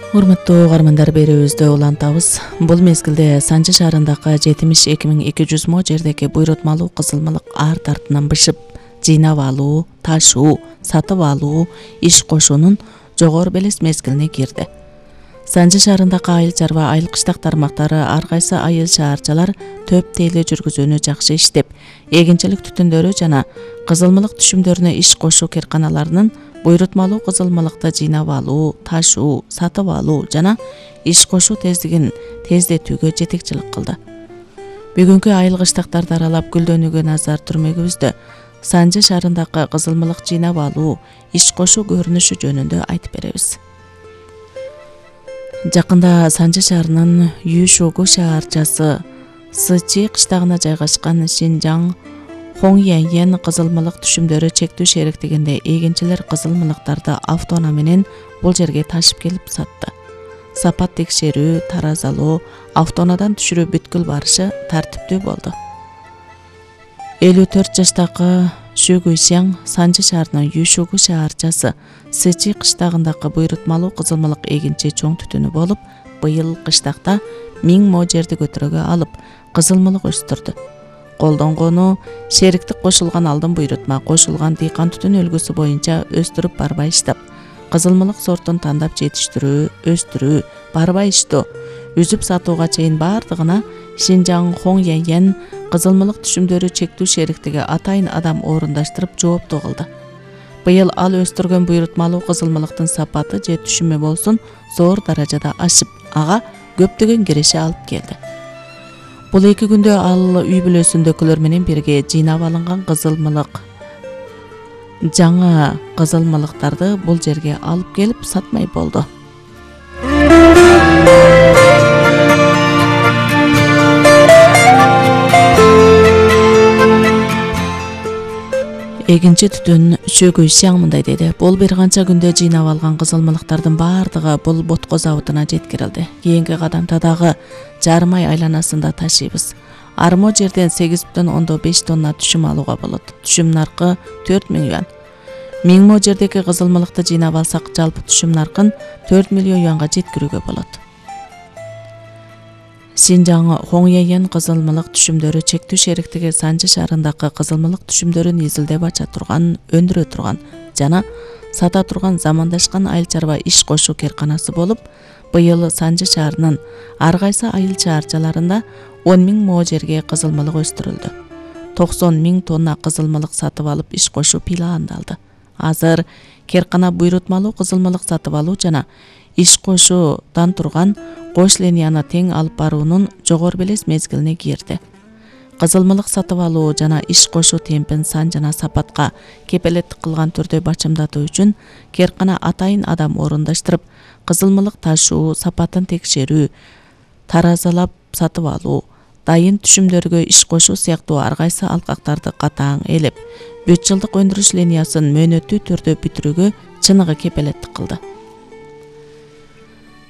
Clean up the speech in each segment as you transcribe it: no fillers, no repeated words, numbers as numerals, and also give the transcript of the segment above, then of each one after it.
Урматтуу угармандар, берүүбүздө улантабыз. Бул мезгилде Санжы шаарындагы 72.200 мо жердеги буйрутмалуу кызылмалык арт артынан бышып, жыйнап алуу, ташуу, сатып алуу, иш кошуунун жогору белес мезгилине кирди. Санжы шаарындагы айыл чарба, айыл кыштак тармактары ар кайсы айыл шаарчалар төп тейлөө жүргүзүүнү жакшы иштеп, эгинчилик түтүндөрү жана кызылмалык түшүмдөрүнө иш кошуу керканаларынын буйрутмалуу кызылмалыкты жыйнап алуу, ташуу, сатып алуу жана иш кошуу тездигин тездетүүгө жетекчилик кылды. Бүгүнкү айыл кыштактарды аралап гүлдөнүүгө назар түрмөгүбүздө Санжы шаарындагы кызылмалык жыйнап алуу, иш кошуу көрүнүшү жөнүндө айтып беребиз. Жакында Санжы шаарынын Юшогу шаарчасы Сычи кыштагына жайгашкан Шинжаң Хоңьяньен кызылмалык түшүмдөрү чектүү шериктигинде эгинчилер кызылмалыктарды автоунаа менен бул жерге ташып келип сатты. Сапат текшерүү, таразалоо, автоунаадан түшүрүү бүткүл барышы тартиптүү болду. 54 жаштагы Шүгүйсяң Санжы шаарынын Юшогу шаарчасы Сычи кыштагындагы буйрутмалуу кызылмалык эгинчи чоң түтүнү болуп, быйыл кыштакта 1000 мо жерди көтөрөгө алып, кызылмалык өстүрдү. Колдонгону шериктик кошулган алдын буйрутма, кошулган дыйкан түтүн үлгүсү боюнча өстүрүп барбай иштеп, кызылмалык сортун тандап жетиштирүү, өстүрүү, барбай иштөө, үзүп сатууга чейин бардыгына Шинжаң Хоңьяньен кызылмалык түшүмдөрү чектүү шериктиги атайын адам орундаштырып жооптуу кылды. Быйыл ал өстүргөн буйрутмалуу кызылмалыктын сапаты же түшүмү болсун зор даражада ашып, ага көптөгөн киреше алып келди. Бул 2 күндө ал үй бүлөсүндөгүлөр менен бирге жыйнап алынган кызылмалык, жаңы кызылмалыктарды бул жерге алып келип сатмай болду. Эгинчи түтүн Шүгүйсяң мындай деди: бул бир канча күндө жыйнап алган кызылмалыктардын бардыгы бул ботко заводуна жеткирилди. Кийинки кадамда дагы жарым ай айланасында ташыйбыз. Армо жерден 8,5 тонна түшүм алууга болот. Түшүм наркы 4000 юан. 1000 мо жердеги кызылмалыкты жыйнап алсак, жалпы түшүм наркын 4 миллион юанга жеткирүүгө болот. Шинжаң Хоңьяньен кызылмалык түшүмдөрү чектүү шериктиги Санжы шаарындагы кызылмалык түшүмдөрүн изилдеп ача турган, өндүрө турган жана сата турган замандашкан айыл чарба иш кошуу керканасы болуп, быйыл Санжы шаарынын ар кайсы айыл чаарчаларында 10.000 мо жерге кызылмалык өстүрүлдү. 90.000 тонна кызылмалык сатып алып иш кошуу пландалды. Азыр керкана буйрутмалуу кызылмалык сатып алуу жана иш кошуудан турган кош линияны тең алып баруунун жогору белес мезгилине кирди. Кызылмалык сатып алуу жана иш кошуу темпин сан жана сапатка кепелеттик кылган түрдө бачымдатуу үчүн керкана атайын адам орундаштырып, кызылмалык ташуу, сапатын текшерүү, таразалап сатып алуу, дайын түшүмдөргө иш кошуу сыяктуу ар кайсы алкактарды катаң элеп, 3 жылдык өндүрүш линиясын мөөнөттүү түрдө бүтүрүүгө чыныгы кепелеттик кылды.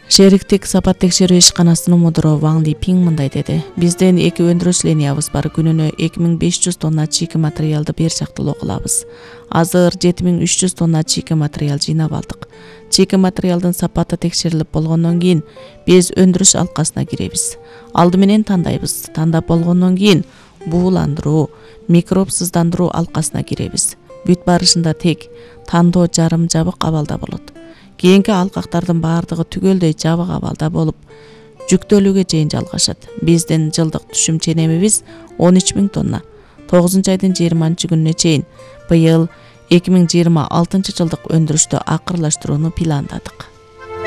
Шериктик сапат текшерүү ишканасынын мудуру Ваң Липиң мындай деди: бизден 2 өндүрүш линиябыз бар, күнүнө 2500 тонна чийки материалды бир жактылуу кылабыз. Азыр 7300 тонна чийки материал жыйнап алдык. Чийки материалдын сапаты текшерилип болгондон кийин биз өндүрүш алкасына киребиз. Алды менен тандайбыз. Тандап болгондон кийин бууландыруу, микробсыздандыруу алкасына киребиз. Бүт барышында тек тандоо жарым жабык абалда болот. Кийинки алкактардын бардыгы түгөлдөй жабык абалда болуп, жүктөлүүгө чейин жалгашат. Биздин жылдык түшүм ченемибиз 13.000 тонна. 9-айдын 20-күнүнө чейин быйыл 2026 жылдык өндүрүштү акырлаштырууну пландадык.